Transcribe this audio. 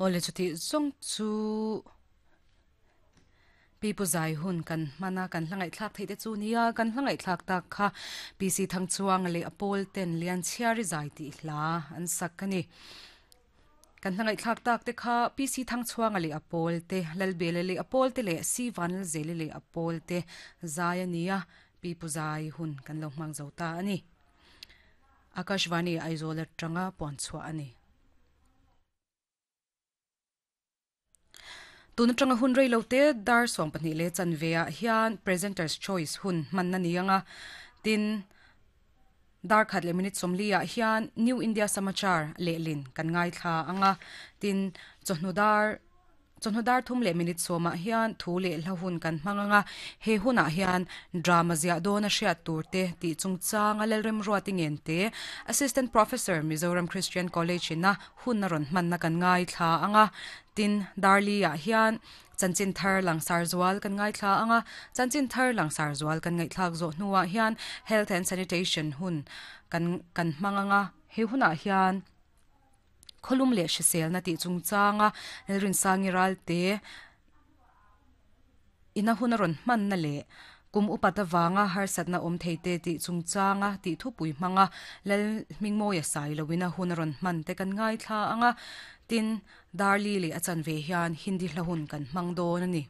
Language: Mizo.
Awle chuti zawng chu Pipu zai hun kan hman a, kan hla ngaihthlak theih te chu nia, kan hla ngaihthlak tak kha PC Thangchuanga leh a pawl ten Lianchhiari zai tih hla an sak a ni. Kan hla ngaihthlak tak te kha PC Thangchhuanga leh a pawl te, Lalbela leh a pawl te leh Si Vanlalzeli leh a pawl te zai a ni a, Pipu zai hun kan lo hmang zo ta a ni. Akashvani Aizawl atanga puan chhuah a ni. Tun atanga hun rei lo te dar 12 leh chanve ah hian Presenter's Choice hun hman a ni ang a, tin dar khat leh minute 40 ah hian New India Samachar lehlin kan ngaithla ang a, tin chawhnu dar Chawhnu dar thum leh minute sawmah hian thu leh hla hun kan hmang ang a, he hunah hian drama ziah dawn a hriat tur te tih chungchanga Lalremruati Ngente, Assistant Professor, Mizoram Christian College ina hun a rawn hmanna kan ngaithla ang a. Tin, Darli-ah hian chanchin thar langsar zual kan ngaithla ang a, chanchin thar langsar zual kan ngaihthlak zawh hnuah hian Health and Sanitation hun kan kan hmang ang a, he hunah hian. Khawlum leh hriselna tih chungchanga Lalrinsangi Ralte ina hun a rawn hmanna leh kum upat avanga harsatna awm thei te tih chungchanga tih thupui hmanga Lalhmingmawia Sailoina hun a rawn hman te kan ngaithla ang a, tin, Darli leh a chanve hian Hindi hla hun kan hmang dawn a ni.